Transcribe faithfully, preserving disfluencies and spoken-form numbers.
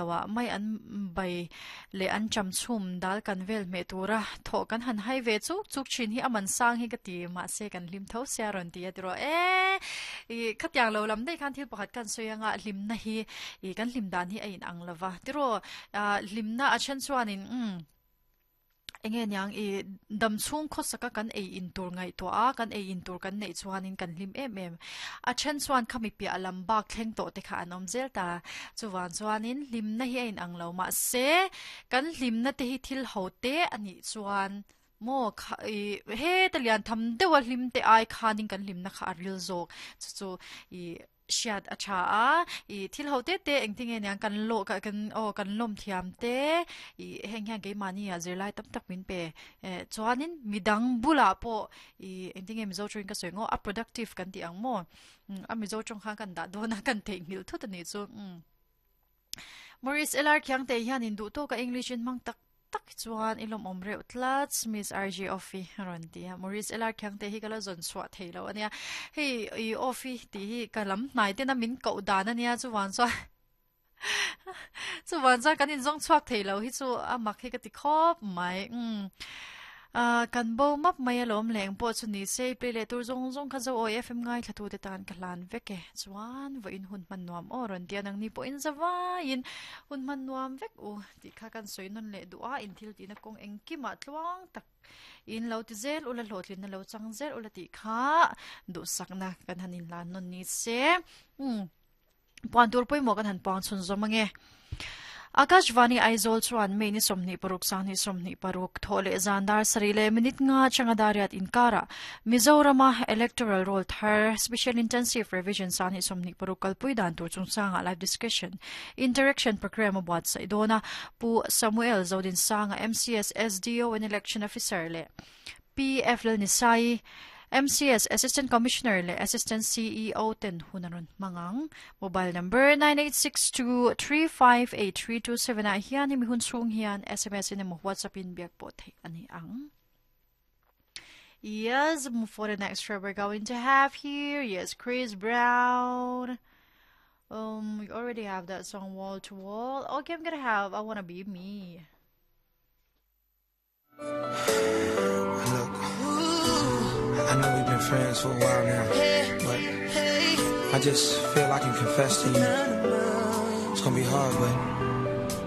loah mai an bai leh anṭam chhum dal kan vel hmeh tura thawh kan han hai ve chuk chuk thin hi a man sang hi ka ti mahse kan hlim tho sia rawn ti a tiraw e ih khatiang lo lam daih khan thil pakhat kan sawi anga hlimna hi ih kan hlim dan hi a in ang lova tiraw ah hlimna a then chuanin umm enge niang ih dam chhung khawsaka kan ei in tur ngaihtuah a kan ei in tur kan neih chuanin kan hlim em em a then chuan khami piah lam bak thleng tawh te kha an awm zel ta chuvan chuanin hlimna hi a in ang lo mahse kan hlimna te hi thil ho te a nih chuan maw kha ih heta lian tham deuh a hlim te ai khanin kan hlimna kha a ril zawk chu chu ih hriat a tha a ih thil ho te te engtin nge niang kan lawh kan kan aw kan lawm thiam te ih heng hian keimahni ah zirlai tam tak min pe eh chuanin midang bulah pawh ih engtin nge mizo tawngin ka sawi ngaw a productive kan tih ang maw a mizo tawng khan kan dah dawn a kan theihnghilh thut a nih chu umm Maurice L R Khiangte hianin duh tawka English in hmang tak tak hi chuan i lawmawm reuh tlat Miss R J Offie a rawn ti a Maurice L R Khiangte hi ka la zawn chhuah thei lo ania hei i Offie tih hi ka lam hnai tena min koh dan ania chuvan chuan chuvan chuan kan inzawng chhuak thei lo hi chu a mak hi ka ti khawp mai umm ah kan bo map mai alawm leng pawh chu ni se play leh tur zawng zawng kha zo awi F M ngai thla tu te tan ka hlan vek e chuan vawiin hun hman nuam aw rawn ti a nangni pawhin zavaiin hun hman nuam vek u tih kha kan sawi nawn leh duh a in thil tihna kawng engkimah tluang tak in lo ti zel ula hlawhtlinna lo chang zel ula tih kha duhsakna kan han inhlan nawn ni se umm puan tur pawimawh kan han puang chhun zawm ange Akashvani Aizawl chuan May ni sawmhnih paruk sanghnih sawmhnih paruk thawh leh zan dar sarih leh minute nga atanga dariat inkarah Mizorama Electoral Roll thar Special Intensive Revision sanghnih sawmhnih paruk kalpui dan tur chungchangah live discussion interaction program a buatsaih dawn a Pu Samuel Zodinsanga M C S S D O and Election Officer leh P F Lalnisai M C S Assistant Commissioner leh Assistant C E O ten hun a rawn hmang ang mobile number nine eight six two three five eight three two seven ah hian hemi hun chhung hian S M S in emaw WhatsApp in biak pawh theih a ni ang. Yes, for the next track we're going to have here, yes, Chris Brown. Um, we already have that song Wall to Wall. Okay, I'm gonna have I Wanna Be Me. Look, I know we've been friends for a while now, but I just feel I can confess to you. It's gonna be hard, but